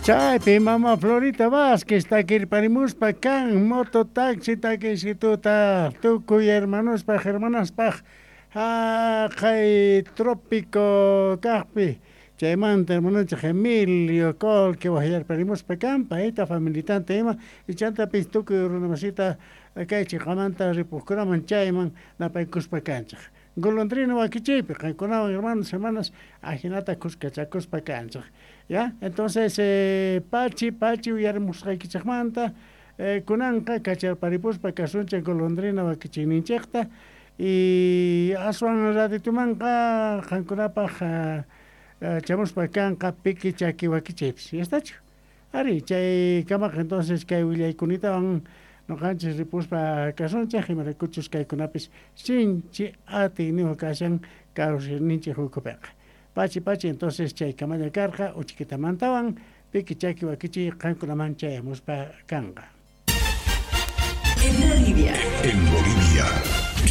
Chaypi mama Florita Vázquez takirparimuspa kan mototaxi takisituta tukuy hermanospaj hermanaspaj jaqay trópico kajpi chaymanta hermanonchej Emilio Colque wajyarparimuspa kan payta familitanta ima ichantapis tukuy runamasita kay chiqamanta ripujkunaman chayman napaykuspa kanchej golondrina wakichiypi qankunawan hermanos hermanas ajinata kuskachakuspa kanchej ya entonces pachi pachi uyarimusqaykichejmanta kunanqa kacharparipuspa kasunchej golondrina wakichiyninchejta y aswan ratitumanqa qankunapaj chamuspa kanqa piki chaki wakichiypis yastachu ari chay kamaqa entonces kay willaykunatawan noqanchis ripuspa kasunchej imaraykuchus kaykunapis sinchi atiyniyuq kashan kawsayninchej ukhupiqa pachi pachi entonces chay kamalla karqa uchikitamantawan piki chaki wakichiy qankunaman chayamuspa kanqa. En Bolivia. En Bolivia.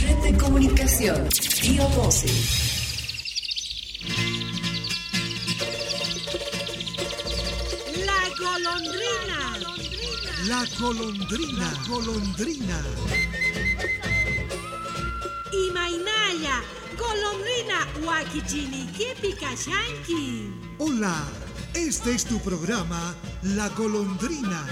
Red de Comunicación. Río 12. La golondrina. La golondrina. La golondrina. Imaynalla, golondrina wakichinikipi kashanki. Hola, este es tu programa La Golondrina.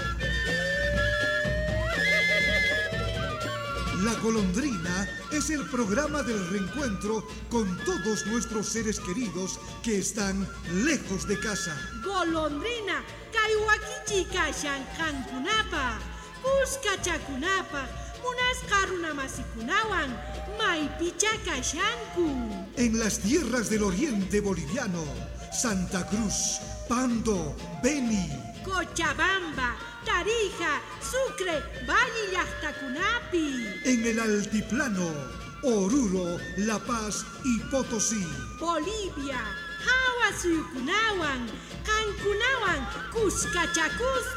La Golondrina es el programa del reencuentro con todos nuestros seres queridos que están lejos de casa. Golondrina, kay wakichi kashan qankunapaj, kuskachakunapaj, munasqa runamasikunawan, maypicha kashanku. En las tierras del oriente boliviano, Santa Cruz, Pando, Beni, Cochabamba, Tarija, Sucre, Valle llaqtakunapi. En el altiplano, Oruro, La Paz y Potosí. Bolivia, hawa suyukunawan, qankunawan, kuskachakuspa.